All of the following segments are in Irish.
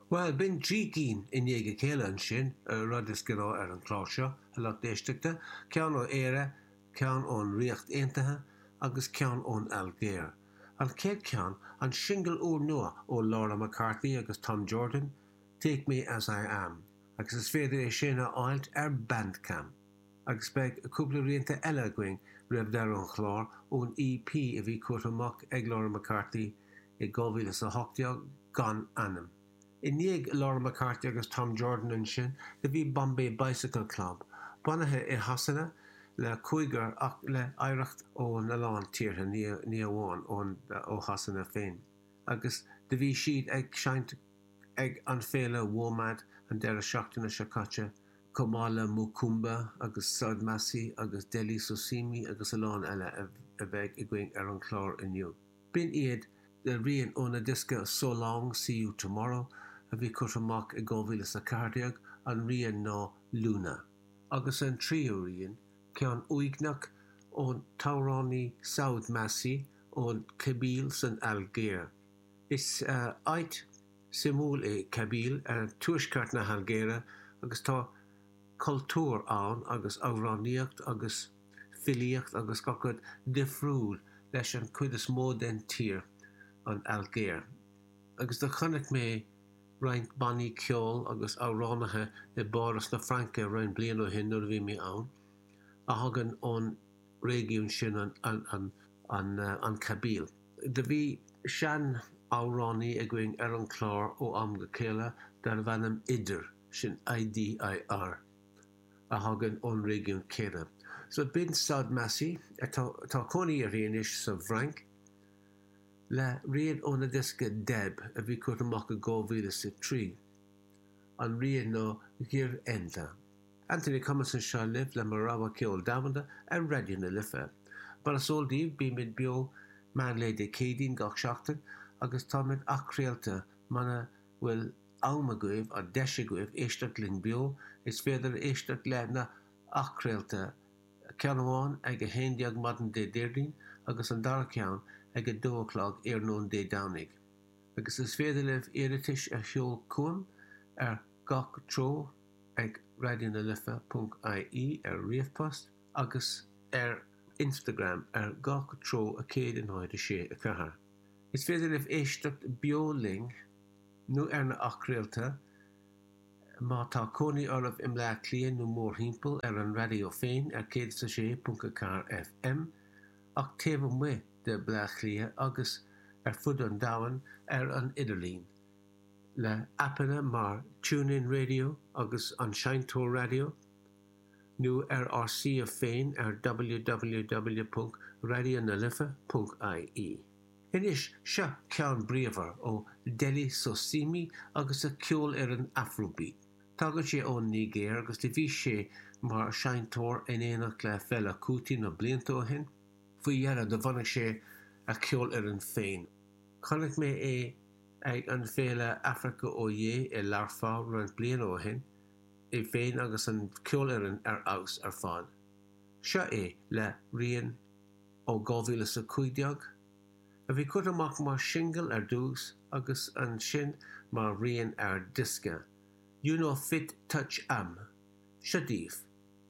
Bhuel, b'in 3 cinn i ndiaidh a chéile ansin, rud is gnáth ar an chlár seo, a lucht éisteachta, ceann ó Éire, ceann ón Ríocht Aontaithe agus ceann ón Ailgéir. An chéad cheann, an singil úrnua ó Laura McCarthy agus Tom Jordan, Take Me As I Am, agus is féidir é sin a fháilt ar Bandcamp. Agus beidh cúpla rianta eile againn roimh deireadh an chláir ón EP a bhí curtha amach ag Laura McCarthy i 2018, Gan Ainm. I ndiaidh Laura McCarthy agus Tom Jordan ansin do bhí Bombay Bicycle Club, bunaithe i Shasana le cúigear ach le hoidhreacht ón a lán tíortha, ní amháin ó Shasana féin. Agus do bhí siad ag seinnt ag an féile WOMAD an deireadh seachtaine seo caite, chomh maith le Mokoomba agus Saoud Massi agus Dele Sosimi agus a lán eile a bheidh againn ar an chlár inniu. B'in iad le rian óna diosca So Long, See You Tomorrow a bhí curtha amach i 2014, an rian ná Luna. Agus an tríú rian, ceann uaigneach ón t-amhránaí Saoud Massi ón Kabyle san Ailgéir. Is áit suimiúil é Kabyle ar tuaisceart na hAilgéire agus tá cultúr ann agus amhránaíocht agus filíocht agus gach rud difriúil leis an chuid is mó den tír, an Ailgéir. Agus do chonaic mé roinnt bannaí ceoil agus amhránaithe i bPáras na Fraince roinnt bliain ó shin nuair a bhí mé ann, a thagann ón réigiún sin, an an Kabyle. Do bhí sean-amhránaí againn ar an chlár ó am go chéile darbh ainm Idir, sin I-D-I-R. a thagann ón réigiún céanna. So b'in Saoud Massi, atá tá cónaí uirthi anois sa bhFrainc, le rian óna diosca Deb a bhí curtha amach i 2003. An rian ná Ghir Enda. Anthony Cummins anseo libh le mo rogha ceol domhanda ar Raidió na Life. Mar is eol daoibh bímid beo meán lae Dé Céadaoin gach seachtain agus táimid athchraolta muna bhfuil am agaibh, an deis agaibh, éisteacht linn beo, is féidir éisteacht le na athchraolta, ceann amháin ag 11 maidin Dé Déardaoin agus an dara ceann ag 2 a chlog iarnóin Dé Domhnaigh. Agus is féidir libh iarratais a sheol chugam ar gach treo ag raidionalife.ie ar ríomhpost agus ar Instagram ar gach treo 1 0 6 4. Is féidir libh éisteacht beo linn nó ar na athchraolta, má tá cónaí oraibh i mBleá Cliath nó mórthimpeall, ar an raidió féin ar 106.4 FM, ach taobh amuigh de Bleá Cliath agus ar fud an domhain ar an idirlíon, le aipeanna mar TuneIn Radio agus An Seinnteoir Raidió, nó ar ár suíomh féin ar www.raidionalife.ie. Anois, seo ceann bríomhar ó Dele Sosimi agus a cheolfhoireann Afrobeat. Tagann sé ón Nigéir agus do bhí sé mar sheinnteoir in éineacht le Fela Kuti na blianta ó shin. Faoi dheireadh do bhunaigh sé a cheolfhoireann féin. Chonaic mé é ag an féile Africa Oye i Learpholl roinnt bliana ó shin, é féin agus an cheolfhoireann ar fheabhas ar fad. Seo é le rian. ó 2015, a bhí curtha amach mar shingil ar dtús agus ansin mar rian ar diosca, You No Fit Touch Am. Seo daoibh,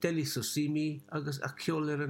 Dele Sosimi agus a cheolfhoireann.